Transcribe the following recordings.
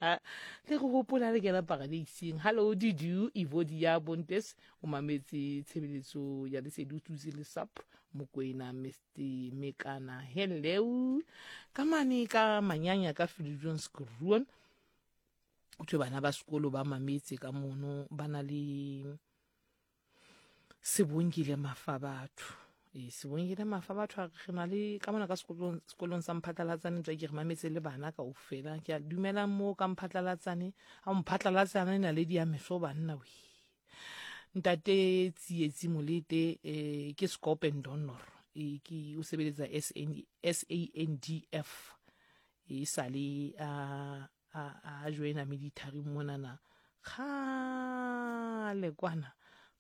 Le re hopola le kena paradeiseng. Hallo Dudu Evodia Bontes o mametse tshebeletso ya Lesedi o tsutse le sap Mokwena Mr Mekana. Hello ka mane ka manyanya ka Viljoenskroon. O thwe bana ba sekolo ba mametse ka mono ba na le Sebongile Mafabatho. Ee, Sebongile Mafabatho a re re na le ka mona ka sekolong sekolong sa Mphatlalatsane tswa ke re mametse le bana kaofela. Ke a dumelang moo ka Mphatlalatsane. A Mphatlalatsane naledi ya meso banna we. Ntate Tsietsi Molete eh, ke Scope and Donor. E ke o sebeletsa SN, SANDF. E sale a a, a joina military monana kgale kwana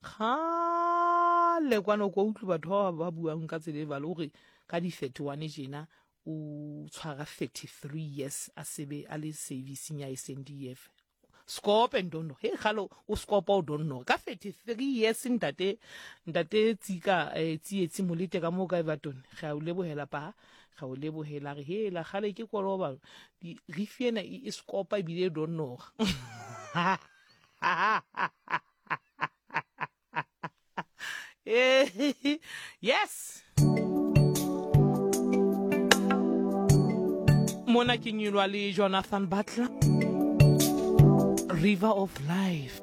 kgale kwana o kwa utlwe batho ba ba buang ka tsela e balo gore ka di-31 jena o tshwara 33 years a sebe a le servicing ya SNDF scope and don't know he galo o scope o don't know ka 33 years ntate ntate tsika eh, tsietsi molete ka mo ka Everton ga o lebohela pa ga o lebohela re hela gale ke koloba rifi ena e sekopa ebile e donnoga. Yes, mona ke nyulwa le Jonathan Butler, River of Life.